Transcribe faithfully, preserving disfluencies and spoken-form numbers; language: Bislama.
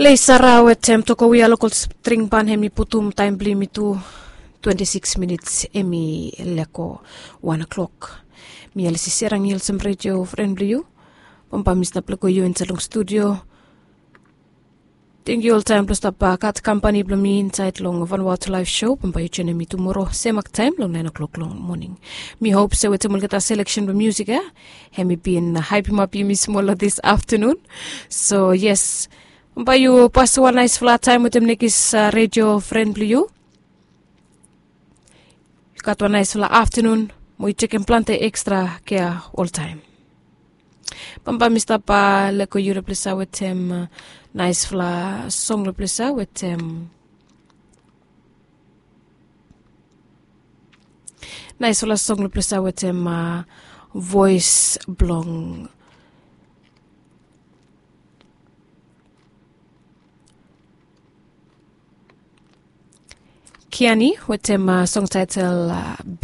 Lesara wetem toko wia lokol string ban hem i putum taem blong yumi tu. Twenti sikis minits hem i leko wan klok. Mi alisi serang i olsem redio fren blong yu. Bambae mi stap leko yu insaed long studio. Tengkiu oltaem blong stap gat kampani blong mi insaed long vanwat laef sho. Bambae yu joenem mi tumoro semak taem long naen oklok long moning. Mi hop se wetem olgeta seleksen blong musik ya, hem i bin haepimap yumi smol long dis aftanun. So yes, bambae yu pas wan naesfala taem wetem nekis redio fren blong yu. Yu gat wan naesfala aftanun, mo yu tekem plante ekstra kea oltaem. Bambae mi stap leko yu long ples ya wetem naesfala song long ples ya wetem naesfala song long ples ya wetem voes blong Kiani wetem song taetel